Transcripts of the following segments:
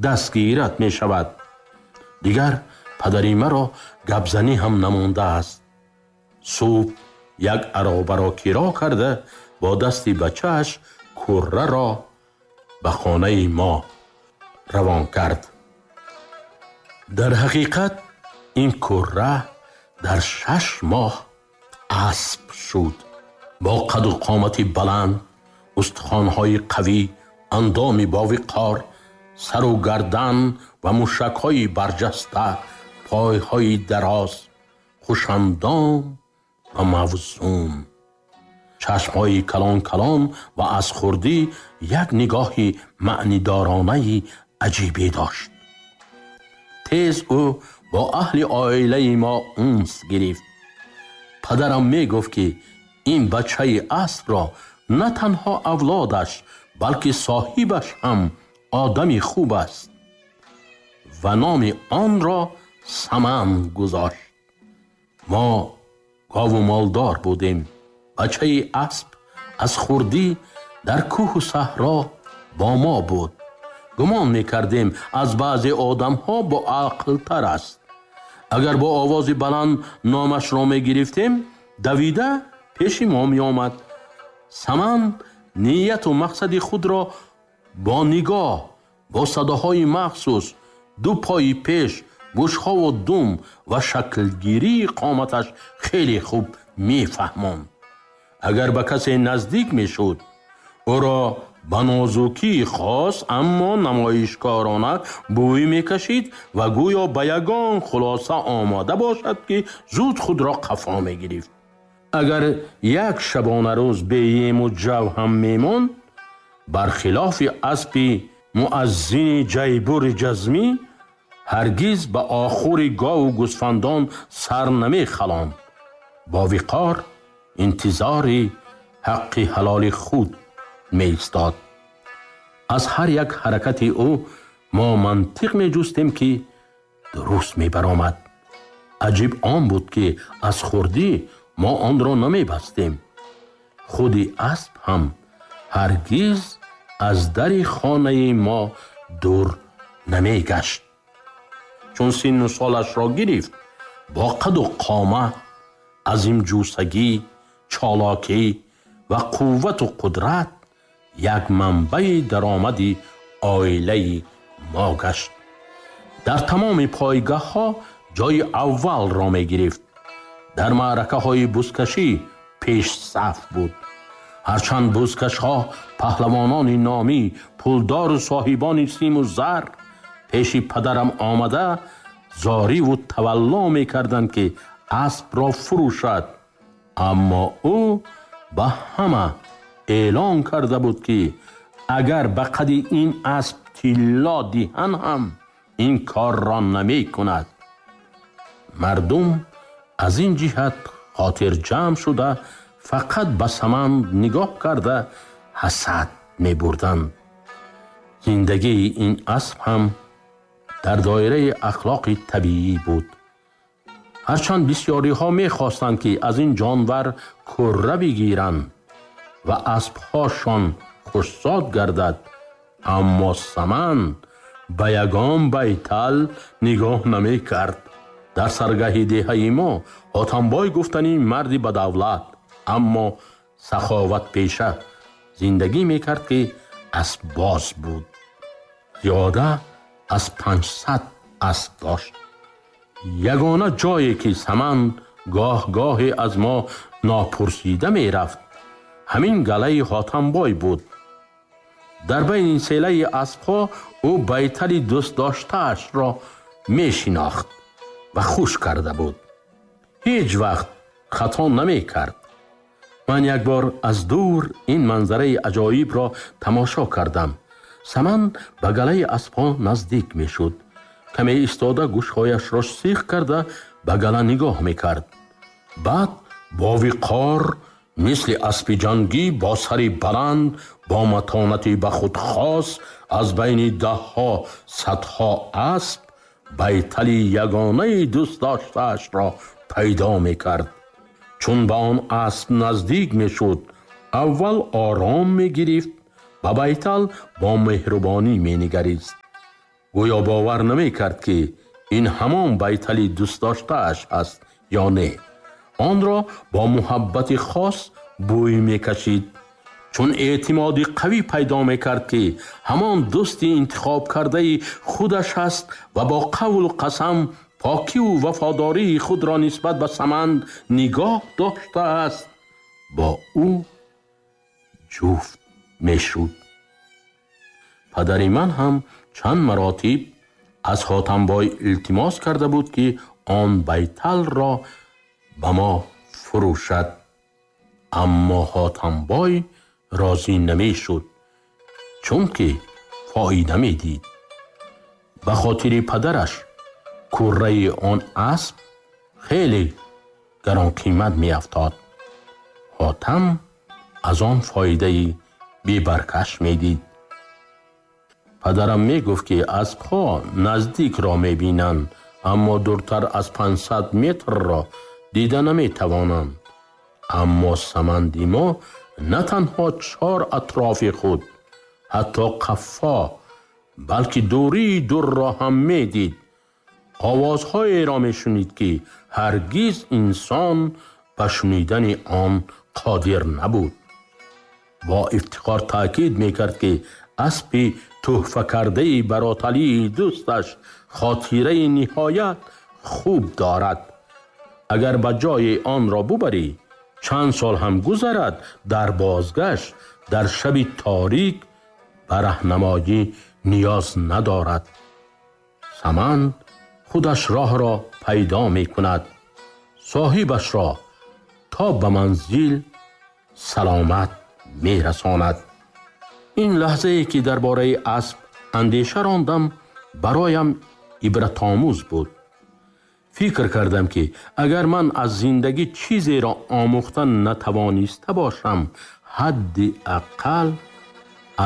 Дастгират мешавад. Дигар падари маро гапзанӣ ҳам намондааст. Субҳ як аробаро киро карда, бо дасти бачааш курраро ба хонаи мо равон кард. Дар ҳақиқат ин курра дар 6 моҳ асп шуд, бо қаду қомати баланд, устухонҳои қавӣ, андоми бовиқор, сару гардан ва мушакҳои барҷаста, пойҳои дароз, хушандом ва мавзун, чашмҳои калон калон ва аз хурдӣ як нигоҳи маънидоронаи аҷибе дошт. Тез ӯ бо аҳли оилаи мо унс гирифт. Падарам мегуфт, ки ин бачаи аспро на танҳо авлодаш, балки соҳибаш ҳам одами хуб аст ва номи онро Саман гузошт. Мо гову молдор будем. Бачаи асп аз хурдӣ дар кӯҳу саҳро бо мо буд. Гумон мекардем, аз баъзе одамҳо боақлтар аст. Агар бо овози баланд номашро мегирифтем, давида пеши мо меомад. Саман нияту мақсади худро бо нигоҳ, бо садоҳои махсус, ду пои пеш, гӯшҳову дум ва шаклгирии қоматаш хеле хуб мефаҳмонд. Агар ба касе наздик мешуд, ӯро ба нозукии хос, аммо намоишкорона бӯй мекашид ва гӯё ба ягон хулоса омода бошад, ки зуд худро қафо мегирифт. Агар як шабонарӯз бе ему ҷав ҳам мемонд, бархилофи аспи муаззини ҷайбури ҷазмӣ, ҳаргиз ба охури гову гӯсфандон сар намехалонд. Бо виқор интизори ҳаққи ҳалоли худ меистод. Аз ҳар як ҳаракати ӯ мо мантиқ меҷустем, ки дуруст мебаромад. Аҷиб он буд, ки аз хурдӣ мо онро намебастем. Худи асп ҳам ҳаргиз аз дари хонаи мо дур намегашт. Чун синну солашро гирифт, бо қаду қомат, азимҷусагӣ, чолокӣ ва қуввату қудрат як манбаи даромади оилаи мо гашт. Дар тамоми пойгоҳҳо ҷои аввалро мегирифт. Дар маъракаҳои бузкашӣ пешсаф буд. Ҳарчанд бузкашҳо, паҳлавонони номӣ, пулдору соҳибони симу зар пеши падарам омада, зориву тавалло мекарданд, ки аспро фурӯшад, аммо ӯ ба ҳама эълон карда буд, ки агар ба қади ин асп тилло диҳанд ҳам, ин корро намекунад. Мардум аз ин ҷиҳат хотирҷамъ шуда, фақат ба Саманд нигоҳ карда, ҳасад мебурданд. Зиндагии ин асп ҳам дар доираи ахлоқи табиӣ буд. Ҳарчанд бисёриҳо мехостанд, ки аз ин ҷонвар курра бигиранд ва аспҳошон хушзод гардад, аммо Саман ба ягон байтал нигоҳ намекард. Дар саргаҳи деҳаи мо Ҳотамбой гуфтани марди бадавлат, аммо саховатпеша зиндагӣ мекард, ки аспбоз буд. Зиёда аз 500 асп дошт. Ягона ҷое ки Саман гоҳ-гоҳе аз мо нопурсида мерафт, ҳамин галаи Ҳотамбой буд. Дар байни селаи аспҳо ӯ байтали дӯстдоштаашро мешинохт ва хуш карда буд. Ҳеҷ вақт хато намекард. Ман як бор аз дур ин манзараи аҷоибро тамошо кардам. Саман ба галаи аспҳо наздик мешуд, каме истода, гӯшҳояшро сих карда, ба гала нигоҳ мекард. Баъд бо виқор, мисли аспи ҷангӣ, бо сари баланд, бо матонати ба худ хос, аз байни даҳҳо, садҳо асп байтали ягонаи дӯстдоштаашро пайдо мекард. Чун ба он асп наздик мешуд, аввал ором мегирифт, ба байтал бо меҳрубонӣ менигарист. Гӯё бовар намекард, ки ин ҳамон байтали дӯстдоштааш аст ё не. Онро бо муҳаббати хос бӯй мекашид. Чун эътимоди қавӣ пайдо мекард, ки ҳамон дӯсти интихобкардаи худаш аст ва бо қавлу қасам покиву вафодории худро нисбат ба Саманд нигоҳ доштааст, бо ӯ ҷуфт мешуд. Падари ман ҳам чанд маротиб аз Ҳотамбой илтимос карда буд, ки он байталро ба мо фурӯшад. Аммо Ҳотамбой розӣ намешуд, чунки фоида медид. Ба хотири падараш курраи он асп хеле гаронқимат меафтод. Ҳотам аз он фоидаи бебаркаш медид. Падарам мегуфт, ки аспҳо наздикро мебинанд, аммо дуртар аз 500 метрро дида наметавонанд. Аммо Саманди мо на танҳо чор атрофи худ, ҳатто қаффо, балки дурии дурро ҳам медид. Овозҳоеро мешунид, ки ҳаргиз инсон ба шунидани он қодир набуд. Бо ифтихор таъкид мекард, ки аспи тӯҳфакардаи бароталии дӯсташ хотираи ниҳоят хуб дорад. Агар ба ҷои онро бубарӣ, чанд сол ҳам гузарад, дар бозгашт дар шаби торик ба раҳнамоӣ ниёз надорад. Саманд худаш роҳро пайдо мекунад, соҳибашро то ба манзил саломат мерасонад. Ин лаҳзае, ки дар бораи асп андеша рондам, бароям ибратомӯз буд. Фикр кардам, ки агар ман аз зиндагӣ чизеро омӯхта натавониста бошам, ҳадди ақал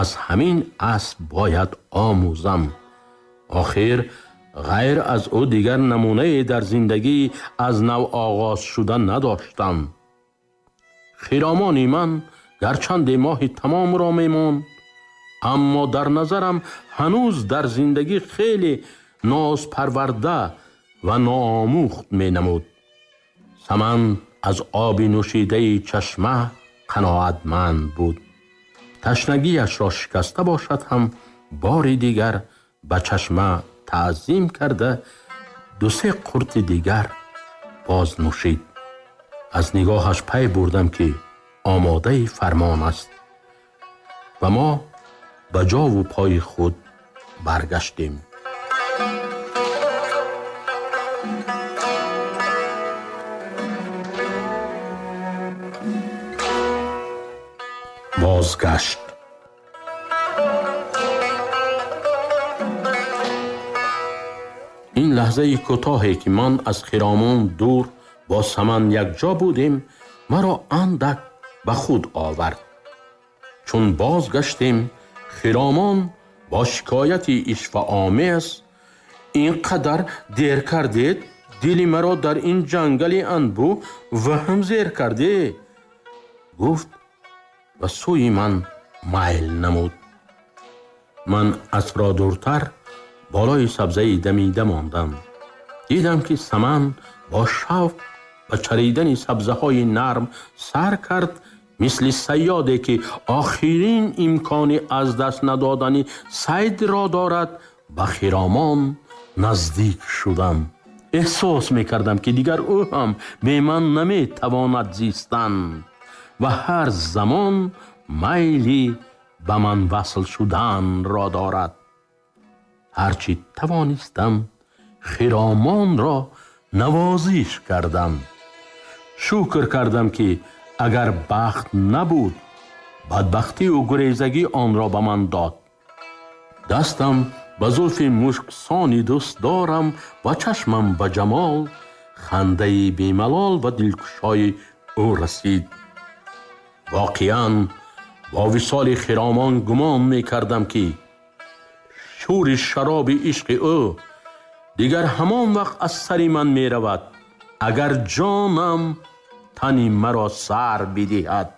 аз ҳамин асп бояд омӯзам. Охир ғайр аз ӯ дигар намунае дар зиндагӣ аз нав оғоз шуда надоштам. Хиромони ман гарчанде моҳи тамомро мемонд, аммо дар назарам ҳанӯз дар зиндагӣ хеле нозпарварда ва ноомӯхт менамуд. Саманд аз оби нӯшидаи чашма қаноатманд буд. Ташнагиашро шикаста бошад ҳам бори дигар ба чашма таъзим карда ду-се қурти дигар боз нӯшид. Аз нигоҳаш пай бурдам, ки омодаи фармон аст ва мо ба ҷову пои худ баргаштем. Бозгашт. Ин лаҳзаи кӯтоҳе, ки ман аз хиромон дур бо Саманд якҷо будем, маро андак ба худ овард. Чун бозгаштем, хиромон бо шикояти ишваомез: ин қадар дер кардед, дили маро дар ин ҷангали анбӯ ваҳм зер карде, гуфт ва сӯи ман майл намуд. Ман аспро дуртар болои сабзаи дамида мондам. Дидам, ки Саманд бо шавқ ба чаридани сабзаҳои нарм сар кард, мисли сайёде, ки охирин имкони аз даст надодани сайдро дорад. Ба хиромон наздик шудам. Эҳсос мекардам, ки дигар ӯ ҳам бе ман наметавонад зистан ва ҳар замон майли ба ман васл шуданро дорад. Ҳарчи тавонистам, хиромонро навозиш кардам. Шукр кардам, ки агар бахт набуд, бадбахтиву гурезагӣ онро ба ман дод. Дастам ба зулфи мушксони дӯстдорам ва чашмам ба ҷамол, хандаи бемалол ва дилкушои ӯ расид. Воқеан бо висоли хиромон гумон мекардам, ки шӯри шароби ишқи ӯ дигар ҳамон вақт аз сари ман меравад, агар ҷонам тани маро сар бидиҳад.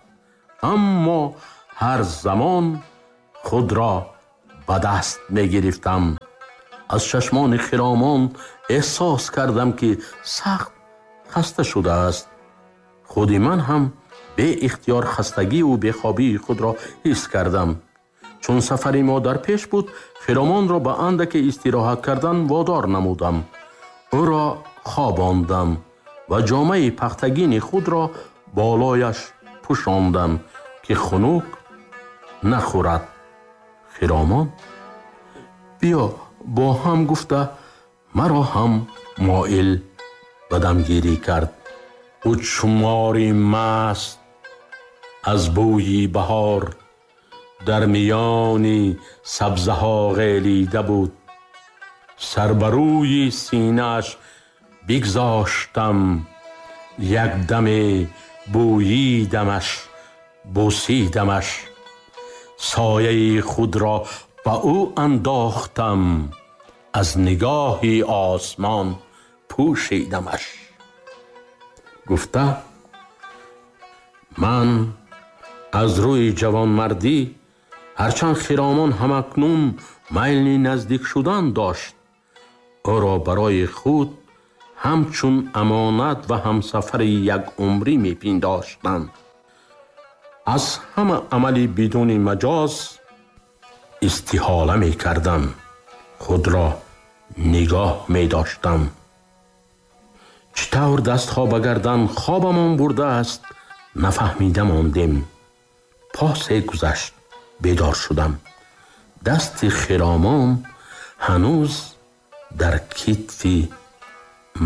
Аммо ҳар замон худро ба даст мегирифтам. Аз чашмони Хиромон эҳсос кардам, ки сахт хаста шудааст. Худи ман ҳам беихтиёр хастагиву бехобии худро ҳис кардам. Чун сафари мо дар пеш буд, Хиромонро ба андаке истироҳат кардан водор намудам. Ӯро хобондам ва ҷомаи пахтагини худро болояш пӯшондам, ки хунук нахӯрад. Хиромон биё бо ҳам гуфта маро ҳам моил ба дамгирӣ кард. Ӯ чумори маст аз бӯи баҳор дар миёни сабзаҳо ғелида буд. Сар ба рӯи синааш бигзоштам, як даме бӯйидамаш, бӯсидамаш. Сояи худро ба ӯ андохтам, аз нигоҳи осмон пӯшидамаш. Гуфта ман аз рӯи ҷавонмардӣ, ҳарчанд Хиромон ҳамакнун майли наздик шудан дошт, ӯро барои худ ҳамчун амонат ва ҳамсафари якумрӣ мепиндоштам. Аз ҳама амали бидуни маҷоз истиҳола мекардам, худро нигоҳ медоштам. Чӣ тавр дастҳо ба гардан хобамон бурдааст, нафаҳмида мондем. Посе гузашт, бедор шудам. Дасти Хиромон ҳанӯз дар китфи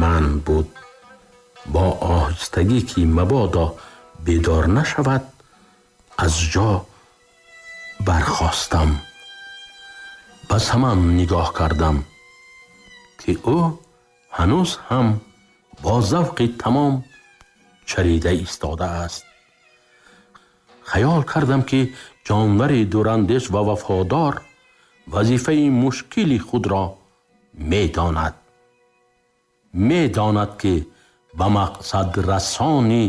ман буд. Бо оҳистагӣ, ки мабодо бедор нашавад, аз ҷо бархостам. Ба Саман нигоҳ кардам, ки ӯ ҳанӯз ҳам бо завқи тамом чарида истодааст. Хаёл кардам, ки ҷонвари дурандеш ва вафодор вазифаи мушкили худро медонад. Медонад, ки ба мақсадрасони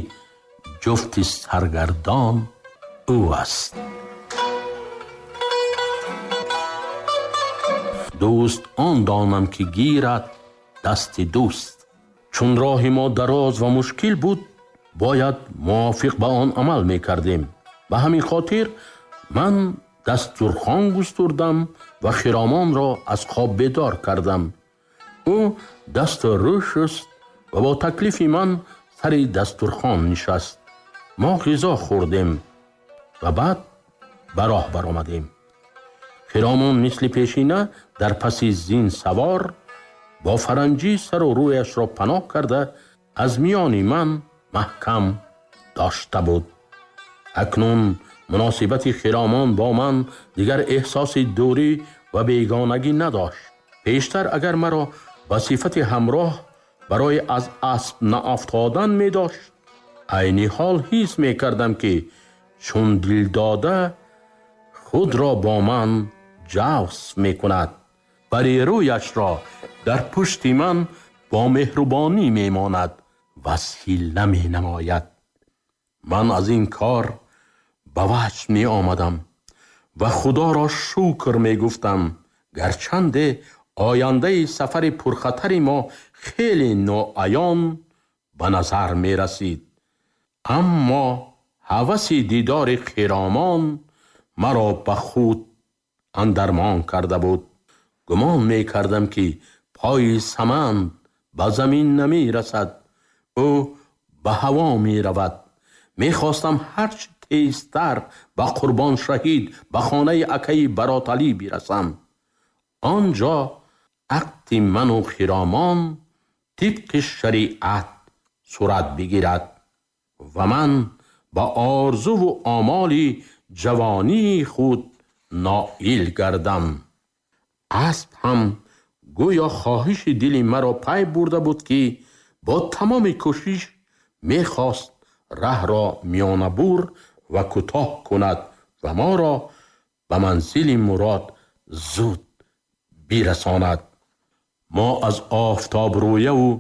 ҷуфти саргардон ӯ аст. Дӯст он донам, ки гирад дасти дӯст. Чун роҳи мо дароз ва мушкил буд, бояд мувофиқ ба он амал мекардем. Ба ҳамин хотир ман дастурхон густурдам ва Хиромонро аз хоб бедор кардам. Ӯ дасту рӯ шуст ва бо таклифи ман сари дастурхон нишаст. Мо ғизо хӯрдем ва баъд ба роҳ баромадем. Хиромон мисли пешина дар паси зин савор бо фаранҷӣ сару рӯяшро паноҳ карда аз миёни ман маҳкам дошта буд. Акнун муносибати Хиромон бо ман дигар эҳсоси дурӣ ва бегонагӣ надошт. Пештар агар маро ба сифати ҳамроҳ барои аз асп наафтодан медошт, айни ҳол ҳис мекардам, ки чун дилдода худро бо ман ҷавс мекунад. Бари рӯяшро дар пушти ман бо меҳрубонӣ мемонад ва силла менамояд. Ман аз ин кор ба ваҷд меомадам ва Худоро шукр мегуфтам. Гарчанде ояндаи сафари пурхатари мо хеле ноаён ба назар мерасид, аммо ҳаваси дидори Хиромон маро ба худ андармон карда буд. Гумон мекардам, ки пои Саманд ба замин намерасад, ӯ ба ҳаво меравад. Мехостам ҳарчи тезтар ба Қурбон Шаҳид, ба хонаи акаи Бароталӣ бирасам. Он ҷо ақди ману Хиромон тибқи шариат сурат бигирад ва ман ба орзуву омоли ҷавонии худ ноил гардам. Асп ҳам гӯё хоҳиши дили маро пай бурда буд, ки бо тамоми кӯшиш мехост раҳро миёнабур ва кӯтоҳ кунад ва моро ба манзили мурод зуд бирасонад. Мо аз офтобрӯяву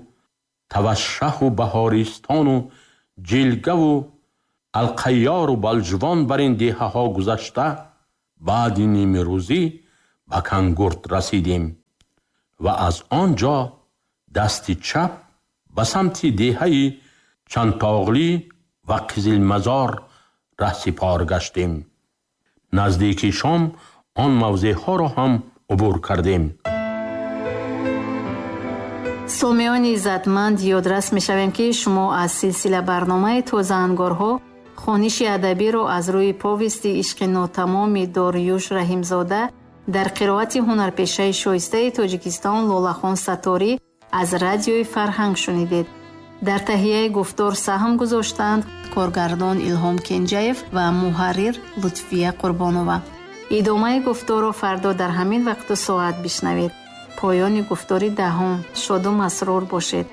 тавашшаҳу баҳористону ҷилгаву Алқайёру Балҷувон бар ин деҳаҳо гузашта, баъди нимрӯзӣ ба Кангурт расидем. Ва аз он ҷо дасти чап ба самти деҳаи Чандтоғлӣ ва Қизилмазор раҳсипор гаштем. Наздики шом он мавзеъҳоро ҳам убур кардем. Сомиёни иззатманд, ёдрас мешавем, ки шумо аз силсила барномаи Тозаангорҳо хониши адабиро аз рӯи повести «Ишқи нотамоми» Дориюш Раҳимзода дар қироати ҳунарпешаи шоистаи Тоҷикистон Лолахон Сатторӣ аз Радиои Фарҳанг шунидед. Дар таҳияи гуфтор саҳм гузоштанд коргардон Илҳом Кенҷаев ва муҳаррир Лутфия Қурбонова. Идомаи гуфторро фардо дар ҳамин вақту соат бишнавед. Поёни гуфтори даҳум. Шоду масрур бошед.